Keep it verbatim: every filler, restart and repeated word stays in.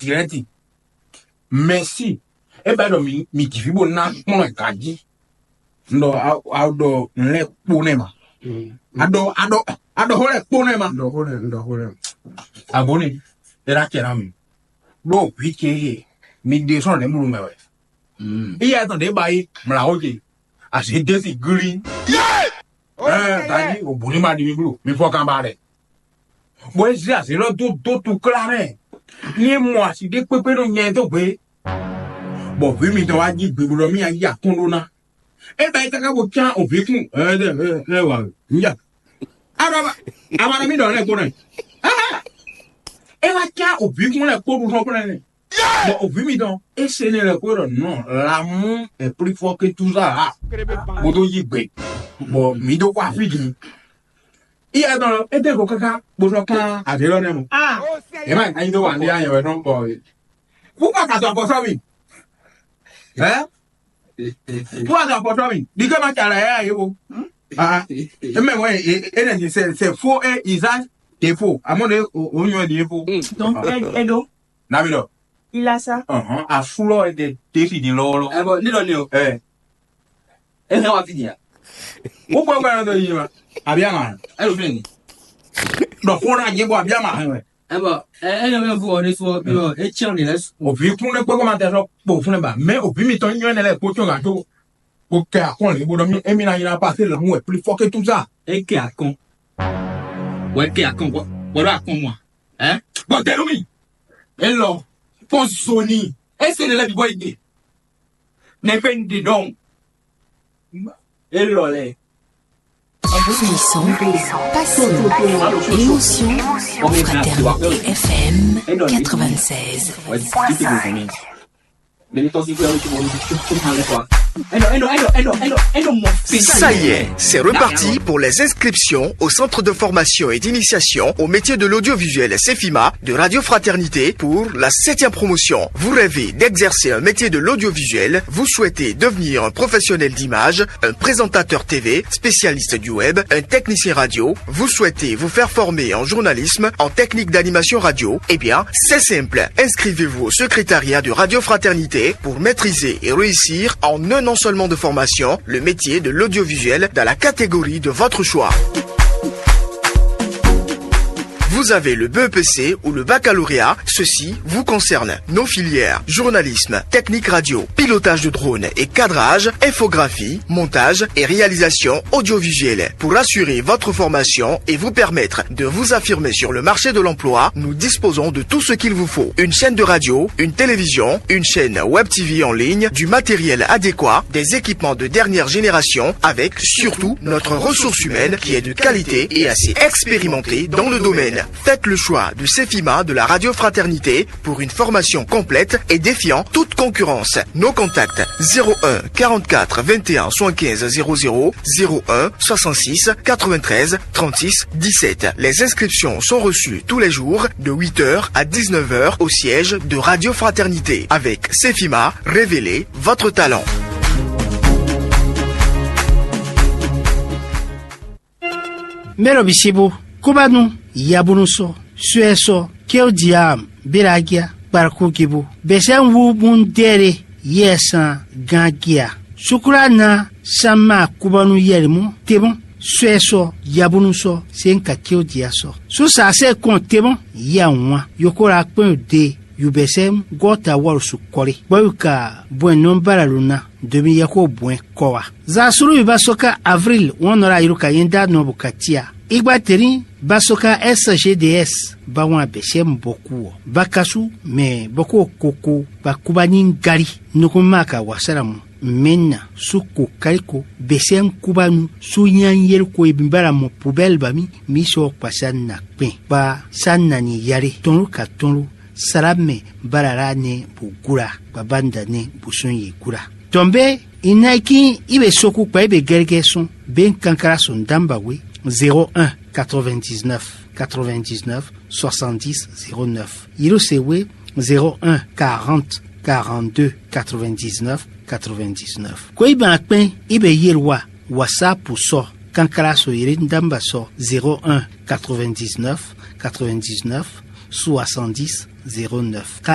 Direct. Merci. E ba ɖɔ mi mi ji fí bó ná kplɔ́n ɛ ganjí. Un ɖɔ a a ɖɔ nǔ lɛ́ɛ kpó nɛ́ ma. A ɖɔ a ɖɔ a ɖɔ xó lɛ́ɛ kpó nɛ́ ma. Ɖɔ xó lɛ́ɛ, ɖɔ xó lɛ́ɛ. Abɔ́ ni, é ná cɛ ná mi. Ɖó vǐ ce e mi ɖe sɔ́ ɖě mlú mɛ wɛ. Iya tɔn ɖě ba yi mlǎ xó ce. Azě dé si glí. Ɛɛ, ganjí o bǔ ní ma ɖi mi bló. Mi fɔ kan ba ɖɛ. Bɔ é zé azě lɔ dó dó tukla mɛ. Ní é mɔ asi ɖé kpékpé nɔ nyɛ dó gbe. Bɔ vǐ mitɔn wá jí gbe bó ɖɔ mì ayi akɔ́n ɖó ná. É ba yi káká bó cyán ovǐkún ɛ ɛ ɛ ɛ wǎ níyà. Aɖɔ aɖɔ mi ɖɔ lɛ kpó nɛ. É wá cyán ovǐkún lɛ kpó ɖu sɔ́ kplɛ́ nɛ. Bɔ ovǐ mitɔn é se nɛ lɛ kpó ɖɔ nɔ l'amour est plus fort que tout ça là. Bó dó yí gbe. Bɔ mǐ dó kó afígi. Iya tɔn é dé go káká bó sɔ́ kán avě lɔ nɛ mɔ. Ě má anyi dó wǎn ɖé anyɛ wɛ nɔ bɔ. Pourquoi ka dɔ afɔ sɔ́ mi? Hein? Pourquoi ka dɔ afɔ sɔ́ mi? Ɖi ké ma ca la yɛ ayé bo. Ah, eme wɛ é nɛ di c'est c'est faux et usage de faux. Amɔ de o nyɔ di faux. Donc, elle, elle, donc, Nabidɔ. Il a ça. Ɔhɔn, afúlɔ ɛ de tesi di lɔwɔlɔ. Ɛ bɔ ne dɔ ne o. Ɛ. E hɛn wa fi dia. Wokpɔ gbɛdɔ dɔ yi ma. Abi ama. Ɛ lo fi ni. Dɔ ko na je bɔ abi ama hɛn wɛ. Ɛ bɔ ɛ ɛ yɔ bɛ fɔ ne sɔ bi lɔ e tiɲɛ de lɛ su. Òfin kún ne kpɔkpɔ ma tɛ sɔ kpɔ fún ne ba mɛ òfin mi tɔn nyɔ ne lɛ kpɔtɔ gã tó. Kò kɛ akɔn lè bó dɔ mi emi na yina pa se lɛ mu wɛ pli fɔ ke tout ça. E kɛ akɔn. Wɛ kɛ akɔn bɔ bɔ dɔ akɔn mɔ. Ɛ bɔ dɛnu mi. E lɔ pɔn zoni. E se ne lɛ bi bɔ yi de. Nɛgbɛ un ɖe ɖɔhun. Élɔ́ lɛ́ɛ. Frisson, passion, émotion, Fraternité F M quatre-vingt-seize. Ça y est, c'est reparti pour les inscriptions au centre de formation et d'initiation au métier de l'audiovisuel Cefima de Radio Fraternité pour la septième promotion. Vous rêvez d'exercer un métier de l'audiovisuel, vous souhaitez devenir un professionnel d'image, un présentateur T V, spécialiste du web, un technicien radio, vous souhaitez vous faire former en journalisme, en technique d'animation radio, eh bien, c'est simple. Inscrivez-vous au secrétariat de Radio Fraternité pour maîtriser et réussir en un an seulement de formation le métier de l'audiovisuel dans la catégorie de votre choix. Vous avez le B E P C ou le baccalauréat, ceci vous concerne. Nos filières, journalisme, technique radio, pilotage de drone et cadrage, infographie, montage et réalisation audiovisuelle. Pour assurer votre formation et vous permettre de vous affirmer sur le marché de l'emploi, nous disposons de tout ce qu'il vous faut. Une chaîne de radio, une télévision, une chaîne web T V en ligne, du matériel adéquat, des équipements de dernière génération, avec surtout notre ressource humaine qui est de qualité et assez expérimentée dans le domaine. Faites le choix de Cefima de la Radio Fraternité pour une formation complète et défiant toute concurrence. Nos contacts: zéro un quarante-quatre vingt et un soixante-quinze zéro zéro, zéro un soixante-six quatre-vingt-treize trente-six dix-sept. Les inscriptions sont reçues tous les jours de huit heures à dix-neuf heures au siège de Radio Fraternité. Avec Cefima, révélez votre talent. Mɛ ɖo bisibu, kubanu, yabunu sɔ, suɛ sɔ, kewdiam, biragia, kparkugibu, bɛsɛn wu bun dɛre, yɛ san, gangia, sukula na, sama, kubanu, yɛlimu, tebun, suɛ sɔ, yabunu sɔ, sen ka kewdia sɔ, susa se kɔn tebun, ya wan, yokola kpɛn de, yubɛsɛn gɔta wɔlusu kɔli, bɔyu ka bɔn nɔmbala luna, domi yɛ ko bɔn kɔ wa. Zasulu bi ba sɔ ka avril wɔn nɔ la yiro ka yɛn da nɔ bu ka tia. Igba teri ba sɔ ka S G D S ba wan bɛsɛ bɔ ku ɔ. Ba kasu mɛ bɔ ko koko ba kuba ni gali. Nukun ma ka wasara mu. Mɛna su ko kaliko bɛsɛ kubanu su nyan yeli ko ebi bara mɔ pubɛl ba mi mi sɔ kpasa na kpɛn. Ba sa na ni yari tɔnlu ka tɔnlu. Sala mɛ bara la ne bu gula. Baba nda ne bu sun yi gula. Tɔn be, i na i kin i be soku kpa i be gɛrigɛ sɔn be kankala so ndamba we: zéro un quatre-vingt-dix-neuf quatre-vingt-dix-neuf soixante-dix zéro neuf. Yiro se we: zéro un quarante quarante-deux quatre-vingt-dix-neuf quatre-vingt-dix-neuf. Ko i ban kpɛn i be yelwa WhatsApp sɔ kankala so yiri ndamba sɔ: zéro un quatre-vingt-dix-neuf quatre-vingt-dix-neuf soixante-dix zéro neuf. Ka